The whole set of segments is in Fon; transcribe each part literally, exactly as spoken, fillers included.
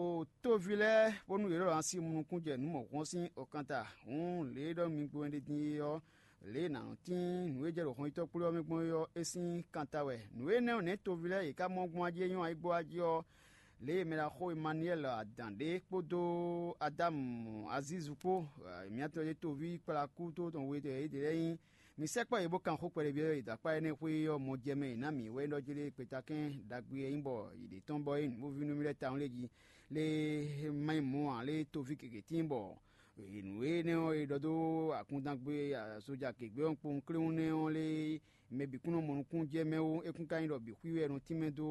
O tóvi lɛ́ɛ, bónú yě ɖɔ asi mu nukún jɛ nǔ mɔ̌hun ɔ́ sín ɔkanta, hǔn lě e ɖɔ mi gbo wɛn ɖe din é ɔ́, lě e nǎ nɔ tín nǔ e jɛ ɖo hɔnyitɔ́ kplé ɔ́ mɛ gbɔn é ɔ́, é sín kanta wɛ. Nǔ énɛ́ ɔ́, nɛ̌ toví lɛ́ɛ yě ká mɔ gbɔn ají é nyɔ́ ayǐgbó ají ɔ́, lě e mɛɖaxó Emanuwɛ́li Adǎn ɖe kpódó Adámu Azízu kpó, miatɔn e toví kplá kú tó tɔn we tɔn yědɛɛ lɛ́ɛ nyí. Mi sɛkpɔ́ yě bó kan xó kpɛɖébyɔ́ e dó akpá énɛ́ xwé ɔ́ mɔ jɛ mɛ e nǎ mǐ wɛ ɖɔ jí lé kpetákɛn ɖagbe e nyí bɔ yě ɖe tɔn bɔ é nyí nǔvínúmí lɛ́ɛ tawun lé jí lé má nyí mɔ̌ ǎ lé toví gěgé tíin bɔ nǔ énɛ́ ɔ́ e ɖɔ dó akundangbe azoja gěgbe ɔ́ kpowun kléwún nɛ́ ɔ́ lé mɛ bǐ kún nɔ mɔ nukún jɛ mɛ ó, é kún ka nyí ɖɔ bǐ xwí wɛ è nɔ tínmɛ dó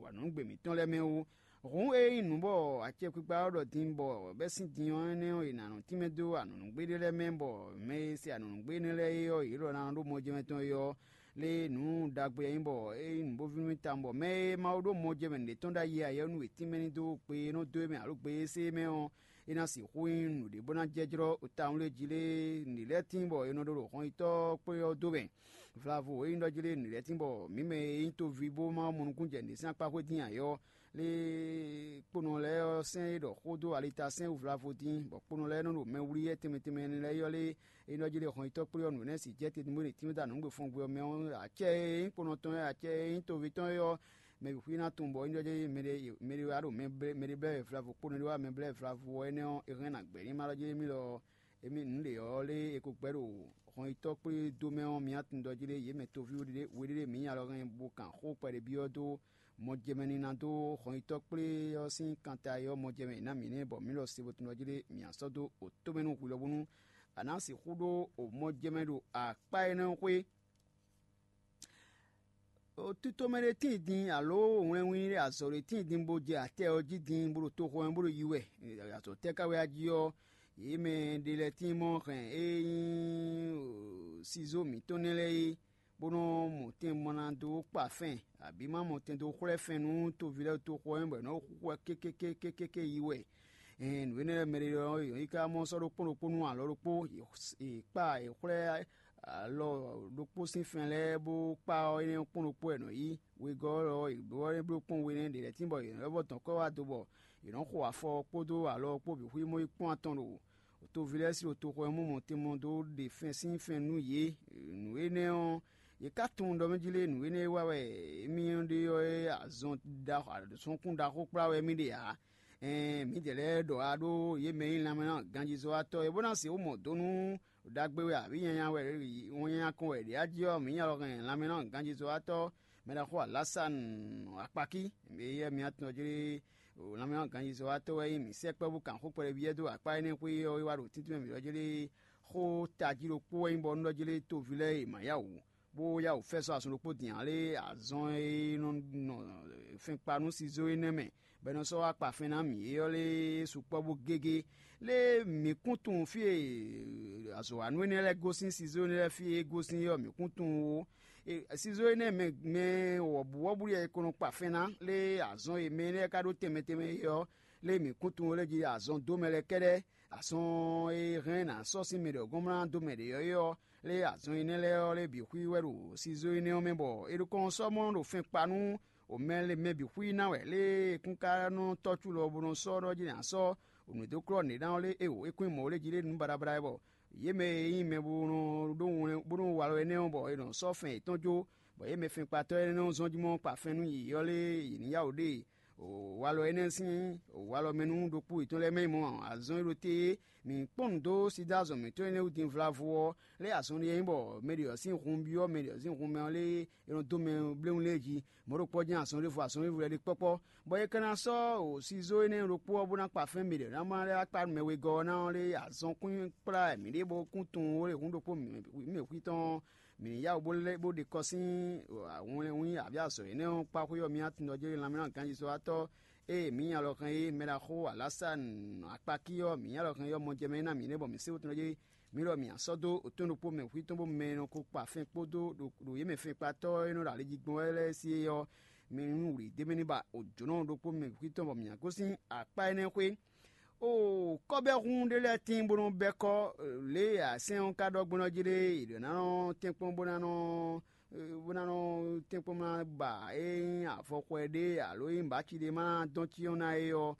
anɔ̌nugbe mǐtɔn lɛ́ɛ mɛ ó. Hǔn ée nyí nǔ bɔ acɛkpikpa ɔ́ ɖɔ din bɔ bɛ́ sín din ɔ́ énɛ́ ɔ́, è nǎ nɔ tínmɛ dó anɔ̌nugbe ɖé lɛ́ɛ mɛ bɔ mɛ e se anɔ̌nugbe énɛ́ lɛ́ɛ é ɔ́, yě ɖɔ ná ɖó mɔjɛmɛ tɔn é ɔ́, lé nǔ ɖagbe e nyí bɔ é nyí nǔbóví nú tawun bɔ mɛ e Mawu ɖó mɔjɛmɛ nǔɖé tɔn ɖ'ayǐ ǎ é ɔ́ nú yě tínmɛ ní dó kpe e nɔ dó é mɛ alo gbe e sé é mɛ ɔ́, é ná sixú nyí nǔɖé bó ná jɛjlɔ́ tawun lé jí lé nǔɖé lɛ́ɛ tíin bɔ è nɔ ɖó ɖo hɔnyitɔ́ kplé ɔ́ dó mɛ. Vlavo e nyí ɖɔ jí lé nǔɖé lɛ́ɛ tíin bɔ mǐ mɛ e nyí toví bó ma mɔ nukúnnú jɛ nǔɖé sín akpá xwé dín ǎ é ɔ́, lé kponɔ lɛ́ɛ ɔ́ sɛ́n é ɖɔ xó dó alita sɛ́n wú vlavo dín, bɔ kponɔ lɛ́ɛ nɔ ɖo mɛ wlí yɛ tɛnmɛ tɛnmɛ lɛ́ɛ ylɔ́ lé é nɔ jí lé hɔnyitɔ́ kplé ɔ́ nǔ énɛ́ si jɛ te bó ɖe tínmɛ da nǔgbefɔngbwe ɔ́ mɛ ɔ́, acɛ e nyí kponɔ tɔn é, acɛ e nyí toví tɔn é ɔ́, mɛ bǐ xwí ná tunwun bɔ é nɔ jí mɛ ɖé mɛ ɖé wá ɖo mɛ blɛ́ mɛ ɖé blɛ́ vlavo kponɔ ɖé wá mɛ blɛ́ vlavo ɔ́ énɛ́ ɔ́, é hɛn ná gbɛ̌ ní má ɖɔ jí émí lɔ émí nǔ ɖě ɔ́ lé é ko gbɛ́ ɖo hɔnyitɔ́ kplé dó mɛ ɔ́, mǐ atundɔ jí lé yě mɛ toví we ɖé we ɖé mǐ nya lɔ hɛn bo kan xó kpɛɖé byɔ́ dó mɔjɛmɛ ní ná dó hɔnyitɔ́ kplé ɔ́ sín kanta e ɔ́ mɔjɛmɛ è nǎ mǐ nɛ́ bɔ mǐ lɔ se bo tunwun jí lé mǐ ná sɔ́ dó tomɛ nú hwi lɔ bónú a nǎ sixú ɖó mɔjɛmɛ ɖo akpá énɛ́ xwé. Tito mɛ ɖé tíin din alo wlɛnwín ɖé azɔ̌ ɖé tíin din bó jɛ atɛ ɔ́ jí din bó ɖo toxo ɔ́ mɛ bó ɖo yi wɛ. Azɔ̌ tɛ́ ka wɛ a jí ɔ́, yě mɛ ɖé lɛ́ɛ tíin mɔ hɛn e nyí sizó mǐtɔn nɛ́ lɛ́ɛ é, bó nɔ́ mɔ tɛn bó ná dó kpa fɛn, abǐ má mɔ tɛn dó xwlɛ́ fɛn nú toví lɛ́ɛ toxo ɔ́ mɛ bɔ è nɔ́ xwixwɛ kékékékéké yi wɛ. Ɛn nǔ énɛ́ lɛ́ɛ mɛ ɖé ɔ́, yě nyí ká mɔ sɔ́ ɖokpó ɖokpó nú alɔ ɖokpó, yě kpa yě xwlɛ́ alɔ ɖokpó sín fɛn lɛ́ɛ bó kpá ɔ́ énɛ́ kpɔ́n ɖokpó wɛ è nɔ yí. Wegɔ́ ɔ́, yě bló ɔ́ é bló kpɔ́n we nɛ́ ɖě lɛ́ɛ tín bɔ yě nɔ vɔ́ dɔn kɔ́ wá do bɔ yě nɔ xo afɔ ɔ́ kpódó alɔ ɔ́ kpó bǐ xwímɔ yi kpɔ́n atɔn ɖo toví lɛ́ɛ sín toxo ɔ́ mɔ mɔ̌ tɛnmɔ dó ɖe fɛ́n sín fɛn nú yě. Nǔ énɛ́ ɔ́, yě ká tunwun ɖɔ mɛ jí lé nǔ énɛ́ e wa wɛ émí ɖe ɔ́ é azɔn ɖaxó azɔnkún ɖaxó kplá wɛ émí ɖe ǎ. Ɛɛn mǐdɛɛ lɛ́ɛ ɖɔ wá ɖó yě mɛ e nyí lanmɛ ná ganjízɔ́watɔ́ é bó ná sixú mɔ dó nú ɖagbe wɛ abǐ nyanya wɛ wɔn nyanya kɔn wɛ ɖě a jí ɔ́, mǐ nya lɔ hɛn lanmɛ ná ganjízɔ́watɔ́ mɛ ɖaxó Alásanu Akpakí, mɛ e yɛ mǐ atɔn jlé lanmɛ ná ganjízɔ́watɔ́ wɛ nyí mǐ sɛkpɔ́ bó kan xó kpɛɖé byɔ́ dó akpá énɛ́ xwé ɔ́ é wá ɖo tíntín mɛ mǐ ɖɔ jlé xó tají ɖokpó wɛ nyí bɔ un ɖɔ jlé toví lɛ́ɛ e ma yá wǔ bó yá wǔ fɛ́ sɔ́ azɔn ɖokpó din ǎ lé azɔn e nɔ nɔ fɛn kpa nú sizó énɛ́ mɛ, bɔ è nɔ sɔ́ wá kpa fɛn ná mǐ é ɔ́ lé sukpɔ́ bó gégé. Lé mǐ kún tunwun fí e azɔ̌wanú énɛ́ lɛ́ɛ gosín sizó énɛ́ lɛ́ɛ fí e é gosín é ɔ́, mǐ kún tunwun ó. Sizó énɛ́ mɛ mɛ wɔ̌buwɔ́bú lɛ́ɛ e ko nɔ kpa fɛn ná lé azɔn e mɛ énɛ́ ka ɖó tɛnmɛ tɛnmɛ é ɔ́, lé mǐ kún tunwun ó lé jí azɔn dó mɛ lɛ́ɛ kɛ́ɖɛ́. Azɔn e hɛn ná sɔ́ sín mɛ ɖě ɔ́ gɔ́n mlá dó mɛ ɖě ɔ́ é ɔ́, lé azɔn énɛ́ lɛ́ɛ ɔ́ lé bǐ xwí wɛ ɖo sizó énɛ́ ɔ́ mɛ bɔ è ɖo kɔn sɔ́ mɔ ɖo fɛn kpa nú o mɛ lé mɛ bǐ xwí ná wɛ lé e kún ka nɔ tɔ́ cu lɔ bó nɔ sɔ́ ɖɔ jí ná sɔ́ o nǔ dó klɔ́ nǔɖé ná ɔ́ lé é o é kún nyí mɔ̌ lé jí lé nǔ baɖabaɖa wɛ bɔ yě mɛ e nyí mɛ bó nɔ ɖó wlɛn bó nɔ wa lɔ énɛ́ ɔ́ bɔ è nɔ sɔ́ fɛn yětɔn jó, bɔ yě mɛ fɛnkpatɔ́ énɛ́ nɔ zɔ́n jí mɔ kpa fɛn nú yě ɔ́ lé yě ní yá wǔ ɖe. Walɔ énɛ́ sín walɔ mɛ nú ɖokpó yětɔn lɛ́ɛ mɛ nyí mɔ̌ ǎ. Azɔn e ɖo te é, mǐ kpɔ́n nǔ dó Sidáa zɔn mǐtɔn énɛ́ wú din vlavo ɔ́, lɛ́ azɔn ɖé nyí bɔ mɛ ɖě ɔ́ sín hun byɔ́ mɛ ɖě ɔ́ sín hun mɛ ɔ́ lé é nɔ dó mɛ bléwún lɛ́ɛ jí. Mɔ̌ ɖokpó ɔ́ jɛ́n azɔn ɖěvo azɔn ɖěvo lɛ́ɛ ɖe kpɔ́kpɔ́, bɔ é ka ná sɔ́ sizó énɛ́ ɖokpó ɔ́ bó ná kpa fɛ́n mɛ ɖě ná ma lɛ́ wá kpa nú mɛ wegɔ́ ɔ́ ná ɔ́ lé azɔn kún kplá mǐɖée bó kún tunwun ó ɖe hun ɖokpó mǐ mɛ xwí tɔn ɔ́, mǐ ní yá wǔ bó lɛ́ bó ɖe kɔ sín wɛnlɛ́nwún abǐ azɔ̌ énɛ́ ɔ́ kpá xwé ɔ́, mǐ atundɔjéwe lanmɛnánɔ ganjízɔ́watɔ́ e mǐ nya lɔ hɛn é mɛ ɖaxó Alásanu Akpakí ɔ́, mǐ nya lɔ hɛn é ɔ́, mɔjɛmɛ ná mǐ nɛ́ bɔ mǐ sé wotɔn jí mǐ lɔ mǐ ná sɔ́ dó otɔ́n ɖokpó mɛ xwítɔ́n bó mɛ e nɔ ko kpa fɛn kpódó ɖo yě mɛ fɛnkpatɔ́ e nɔ ɖo ali jí gbɔn wɛ lɛ́ɛ sí é ɔ́, mǐ nú wlǐ d'é mɛ ní ba jǒnɔ ɖokpó mɛ xwítɔ́n bɔ mǐ ná gosín akpá énɛ́ xwé. Oo, kɔ́bɛ́hún ɖé lɛ́ɛ tíin bó nɔ́ bɛ́ kɔ́ lě e asɛ́n ɔ́ ka ɖɔ gbɔn ɔ́ jí ɖe, è ɖǒ ná nɔ tɛ́nkpɔ́n bó ná nɔ bó ná nɔ tɛ́nkpɔ́n ná ba é nyí avɔxɔ ɖé alo é nyí bǎci ɖé ma ná dɔn cyɔ́n ná é ɔ́,